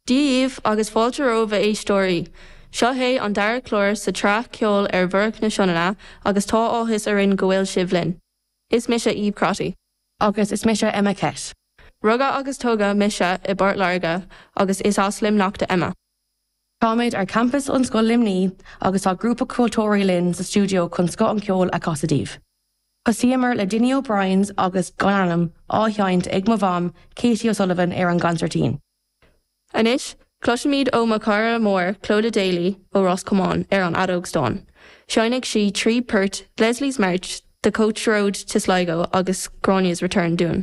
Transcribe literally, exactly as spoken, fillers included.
Dia daoibh agus fáilte romhaibh a éisteoirí. Seo é an dara clár sa tsraith ceol ar bhruach na Sionainne agus tá áthas orainn go bhfuil sibh linn. Is mise Eve Crotty. Agus is mise Emma Kett. Rugadh agus tógadh mise i bPort Láirge agus is as Luimneach d'Emma. Táimid ar campus Ollscoil Luimnigh agus tá grúpa ceoltóirí linn sa stiúideo chun scoth an cheoil a chasadh daoibh. Thosaíomar le Dinny O'Brien's agus Gan Ainm á sheinnt ag mo mham Katie O'Sullivan ar an gconsairtín. Anois, cloisfimid ó mo chara mór Clodagh Daly ó Ros Comáin ar an fheadóg stáin. Seinnfidh sí trí port Leslie's March, The Coach Road to Sligo agus Gráinne's Return dúinn.